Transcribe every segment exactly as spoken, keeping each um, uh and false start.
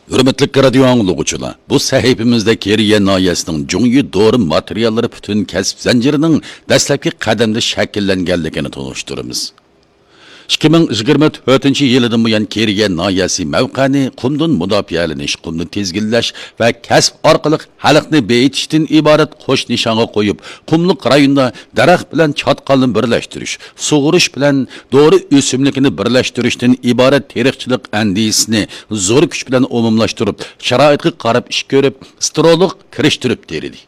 ھۆرمەتلىك رادىيو ئاڭلىغۇچىلار، بۇ سەھىپىمىزدە كېرىيە ناھىيەسىنىڭ جۇڭيى دورا ماتېرىياللىرى پۈتۈن كەسىپ زەنجىرىنىڭ دەسلەپكى قەدەمدە شەكىللەنگەنلىكىنى تونۇشتۇرىمىز. ئىككى مىڭ يىگىرمە تۆتىنچى يىلىدىن بۇيان، كېرىيە ناھىيەسى مەۋقەنى قۇمدىن مۇداپىئەلىنىش، قۇمنى تىزگىنلەش ۋە كەسىپ ئارقىلىق خەلقنى بېيىتىشتىن ئىبارەت قوش نىشانغا قويۇپ، قۇملۇق رايوندا دەرەخ بىلەن چاتقالنى بىرلەشتۈرۈش، سۇغۇرۇش بىلەن دورا ئۆسۈملۈكىنى بىرلەشتۈرۈشتىن ئىبارەت تېرىقچىلىق ئەندىزىسىنى زور كۈچ بىلەن ئومۇملاشتۇرۇپ، شارائىتقا قاراپ ئىش كۆرۈپ، سترولۇق كىرىشتۈرۈپ تېرىدى.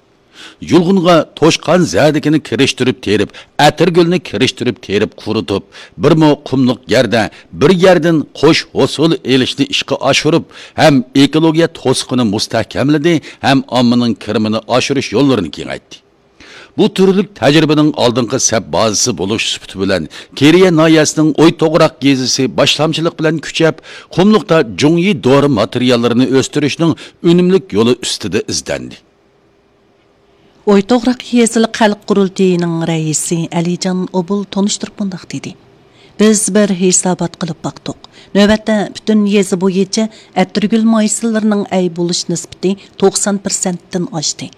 يۇلغۇنغا توشقان زەدىكىنى كىرىشتۈرۈپ تېرىپ، ئەتىرگۈلنى كىرىشتۈرۈپ تېرىپ قۇرۇتۇپ، بىرمۇ قۇملۇق يەردە بىر يەردىن قوش ھوسۇل ئېلىشنى ئىشقا ئاشۇرۇپ، ھەم ئېكولوگىيە توسۇقىنى مۇستەھكەملىدى، ھەم ئاممىنىڭ كىرىمىنى ئاشۇرۇش يوللىرىنى كېڭەيتتى. بۇ تۈرلۈك تەجرىبىنىڭ ئالدىنقى سەپ بازىسى بولۇش سۈپىتى بىلەن، كېرىيە ناھىيەسىنىڭ ئويتوغراق يېزىسى باشلامچىلىق بىلەن كۈچەپ، قۇملۇقتا جۇڭيى دورا ماتېرىياللىرىنى ئۆستۈرۈشنىڭ ئۈنۈملۈك يولى ئۈستىدە ئىزدەندى. ئويتوغراق يېزىلىق خەلق قۇرۇلتىيىنىڭ رەئىسى ئەلىجان ئوبۇل تونۇشتۇرۇپ مۇنداق دېدى: بىز بىر ھېسابات قىلىپ باقتۇق. نۆۋەتتە پۈتۈن يېزا بويىچە ئەتىرگۈل مايسىلىرىنىڭ ئەي بولۇش نىسبىتى توقسان پىرسەنتتىن ئاشتى.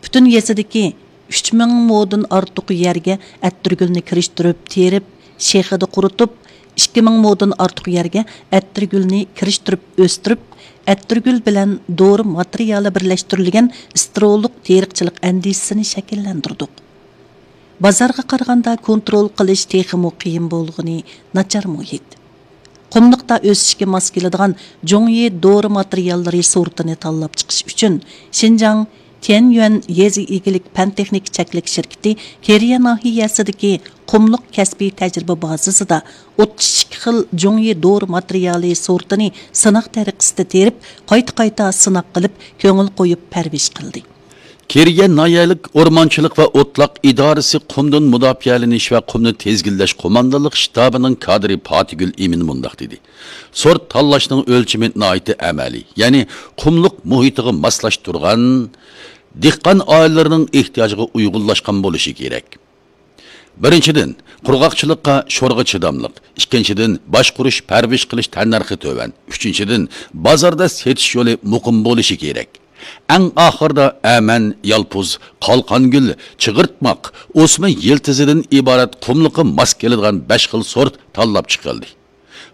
پۈتۈن يېزىدىكى ئۈچ مىڭ مودىن ئارتۇق يەرگە ئەتىرگۈلنى كىرىشتۈرۈپ تېرىپ، شېخىدا قۇرۇتۇپ، ئىككى مىڭ مودىن ئارتۇق يەرگە ئەتىرگۈلنى كىرىشتۈرۈپ ئۆستۈرۈپ، ئەتىرگۈل بىلەن دورا ماتېرىيالى بىرلەشتۈرۈلگەن سترولۇق تېرىقچىلىق ئەندىزىسىنى شەكىللەندۈردۇق. بازارغا قارىغاندا كونترول قىلىش تېخىمۇ قىيىن بولغىنى ناچار مۇھىت. قۇملۇقتا ئۆسۈشكە ماس كېلىدىغان جۇڭيى دورا ماتېرىياللىرى سورتىنى تاللاپ چىقىش ئۈچۈن، شىنجاڭ تيەنيۈەن يېزا ئىگىلىك پەن تېخنىكا چەكلىك شىركىتى كېرىيە ناھىيەسىدىكى قۇملۇق كەسپىي تەجرىبە بازىسىدا ئوتتۇز ئىككى خىل جۇڭيى دورا ماتېرىيالى سورتىنى سىناق تەرىقىسىدە تېرىپ، قايتا-قايتا سىناق قىلىپ، كۆڭۈل قويۇپ پەرۋىش قىلدى. كېرىيە ناھىيەلىك ئورمانچىلىق ۋە ئوتلاق ئىدارىسى قۇمدىن مۇداپىئەلىنىش ۋە قۇمنى تىزگىنلەش قوماندانلىق شتابىنىڭ كادىرى پاتىگۈل ئىمىن مۇنداق دېدى: سورت تاللاشنىڭ ئۆلچىمى ناھايىتى ئەمەلىي، يەنى قۇملۇق مۇھىتىغا ماسلاشتۇرغان، دېھقان ئائىلىلىرىنىڭ ئېھتىياجىغا ئۇيغۇنلاشقان بولۇشى كېرەك. بىرىنچىدىن، قۇرغاقچىلىققا، شورغا چىداملىق. ئىككىنچىدىن، باشقۇرۇش، پەرۋىش قىلىش تەننەرخى تۆۋەن. ئۈچىنچىدىن، بازاردا سېتىش يولى مۇقىم بولۇشى كېرەك. ئەڭ ئاخىرىدا ئەمەن، يالپۇز، قالقانگۈل، چىغىرتماق، ئوسما يىلتىزىدىن ئىبارەت قۇملۇققا ماس كېلىدىغان بەش خىل سورت تاللاپ چىقىلدى.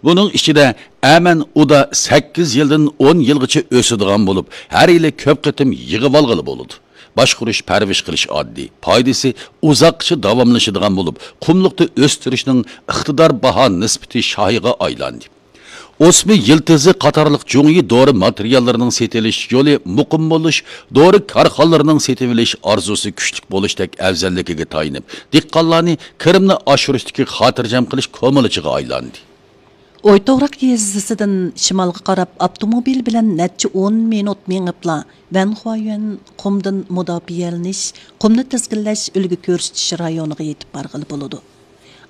بۇنىڭ ئىچىدە ئەمەن ئۇدا سەككىز يىلدىن ئون يىلغىچە ئۆسىدىغان بولۇپ، ھەر يىلى كۆپ قېتىم يىغىۋالغىلى بولىدۇ. باشقۇرۇش، پەرۋىش قىلىش ئاددىي، پايدىسى ئۇزاققىچە داۋاملىشىدىغان بولۇپ، قۇملۇقتا ئۆستۈرۈشنىڭ ئىقتىدار باھا نىسبىتى شاھىغا ئايلاندى. ئوسما يىلتىزى قاتارلىق جۇڭيى دورا ماتېرىياللىرىنىڭ سېتىلىش يولى مۇقىم بولۇش، دورا كارخانىلىرىنىڭ سېتىۋېلىش ئارزۇسى كۈچلۈك بولۇشتەك ئەۋزەللىكىگە تايىنىپ، دېھقانلارنى كىرىمنى ئاشۇرۇشتىكى خاتىرجەم قىلىش كومىلىچىغا ئايلاندى. ئويتوغراق يېزىسىدىن شىمالغا قاراپ ئاپتوموبىل بىلەن نەچچە ئون مىنۇت مېڭىپلا، ۋەنخۇايۈەن قۇمدىن مۇداپىئەلىنىش، قۇمنى تىزگىنلەش، ئۈلگە كۆرسىتىش رايونىغا يېتىپ بارغىلى بولىدۇ.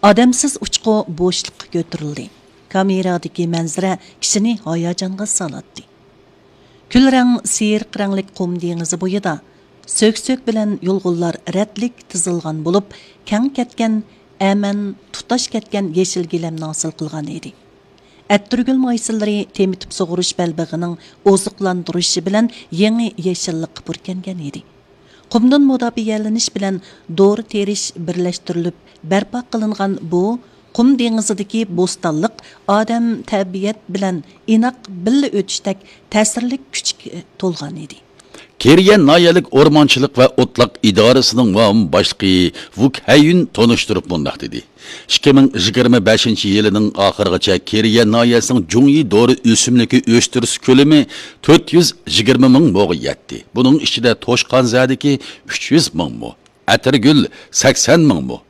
ئادەمسىز ئۇچقۇ بوشلۇققا كۆتۈرۈلدى. كامېرادىكى مەنزىرە كىشىنى ھاياجانغا سالاتتى. كۈل رەڭ سېرىق رەڭلىك قۇم دېڭىزى بويىدا سۆك-سۆك بىلەن يۇلغۇنلار رەتلىك تىزىلغان بولۇپ، كەڭ كەتكەن ئەمەن تۇتاش كەتكەن يېشىل گىلەمنى ھاسىل قىلغان ئىدى. ئەتىرگۈل مايسىلىرى تېمىتىپ سۇغۇرۇش بەلبېغىنىڭ ئوزۇقلاندۇرۇشى بىلەن يېڭى يېشىللىققا پۇركەنگەن ئىدى. قۇمدىن مۇداپىئەلىنىش بىلەن دورا تېرىش بىرلەشتۈرۈلۈپ بەرپا قىلىنغان بۇ قۇم دېڭىزىدىكى بوستانلىق ئادەم تەبىئەت بىلەن ئىناق بىللە ئۆتۈشتەك تەسىرلىك كۈچكە تولغان ئىدى. كېرىيە ناھىيەلىك ئورمانچىلىق ۋە ئوتلاق ئىدارىسىنىڭ مۇئاۋىن باشلىقى ۋۇك ھەييۈن تونۇشتۇرۇپ مۇنداق دېدى: ئىككى مىڭ يىگىرمە بەشىنچى يىلىنىڭ ئاخىرىغىچە كېرىيە ناھىيەسىنىڭ جۇڭيى دورا ئۆسۈملۈكى ئۆستۈرۈش كۆلىمى تۆت يۈز يىگىرمە مىڭ موغا يەتتى. بۇنىڭ ئىچىدە توشقان زەدىكى ئۈچ يۈز مىڭ مو، ئەتىرگۈل سەكسەن مىڭ مو،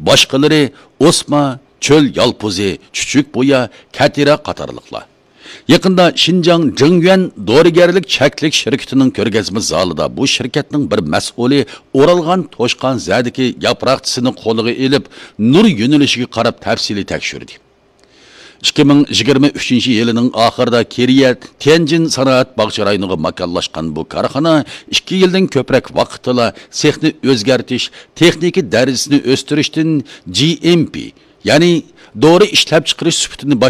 باشقىلىرى ئوسما، چۆل يالپۇزى، چۈچۈك بويا، كەتىرە قاتارلىقلار. يېقىندا شىنجاڭ جېڭيۈەن دورىگەرلىك چەكلىك شىركىتىنىڭ كۆرگەزمە زالىدا بۇ شىركەتنىڭ بىر مەسئۇلى ئورالغان توشقان زەدىكى ياپراقچىسىنى قولىغا ئېلىپ، نۇر يۆنىلىشىگە قاراپ تەپسىلىي تەكشۈردى. ئىككى مىڭ يىگىرمە ئۈچىنچى يىلىنىڭ ئاخىرىدا كېرىيە تيەنجىن سانائەت باغچە رايونىغا ماكانلاشقان بۇ كارخانا ئىككى يىلدىن كۆپرەك ۋاقىتتىلا سېخنى ئۆزگەرتىش، تېخنىكا دەرىجىسىنى ئۆستۈرۈشتىن جى ئېم پى، يەنى دورا ئىشلەپچىقىرىش سۈپىتىنى باش